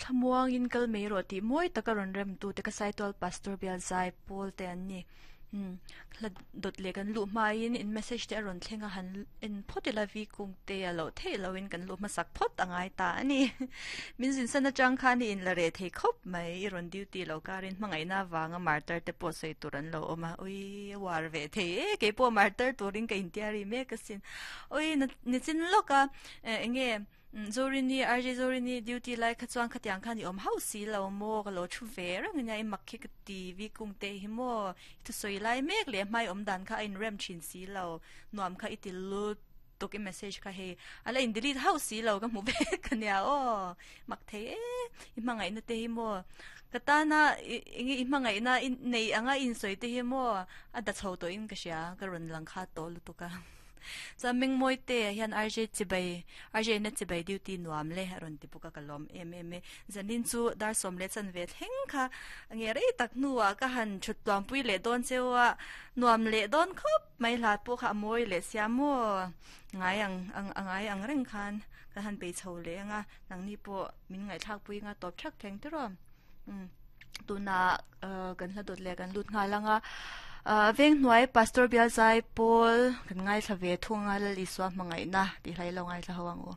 Thlamuangin kal mai rawh tih mawi taka rawn remtute ka Saitual Pastor Bial Zai Pawl te an ni. Umm hla dawt leh kan luh hmain in message te a rawn thleng a han en phawt ila vi kung te a loh theih loin kan luh hmasak phawt a ngai ta a ni. Min zin san atang khan i inla reh thei khawp mai i rawn duty lo karin hmangaihna avanga martar te pawh sawi tur an lo awm a ui a uar ve thei e keipawh martar turin ka intiari mek asin ui nichin lawk a enge Zorini, RJ Zorini duty lai kha chuan khatiang khan i awm hauh si lo maw? Ka lo thu ve reng ania, i mak khi ka ti vi kung te hi maw? I thusawi lai mek leh hmai awm dan kha a inrem thin si lo, nuam kha i ti lut tuk i message kha hei a la in delete hauh si lo ka hmu vek ania aw, mak thei e, i hmangaihna te hi maw? Ka tana enge i hmangaihna i nei anga i insawi te hi maw? A da chho tawhin ka hria, ka rawn lang kha tawh lutuk a. Chuan Mengmawite hian RJ chibai, RJ na chibai duty nuam le a rawn ti bawk a, ka lawm em em e. Zanin chu dar sawm leh chanve thleng kha nge rei tak hnuah ka han thut tluangpui leh dawn cheu a, nuam leh dawn khawp mai hla pawh kha a mawi leh sia maw? Ngai ang ang a ngai ang reng khan kan han bei chho leh ang a, nangni pawh min ngaihthlakpui anga tawp thak thleng tiraw? Umm tunah kan hla dawt leh kan lut nghal ang a Venghnuai Pastor Bialzai Paul kan ngaithla ve thung a Lal Isua hmangaihna tih hla i lo ngaithla ho ang u.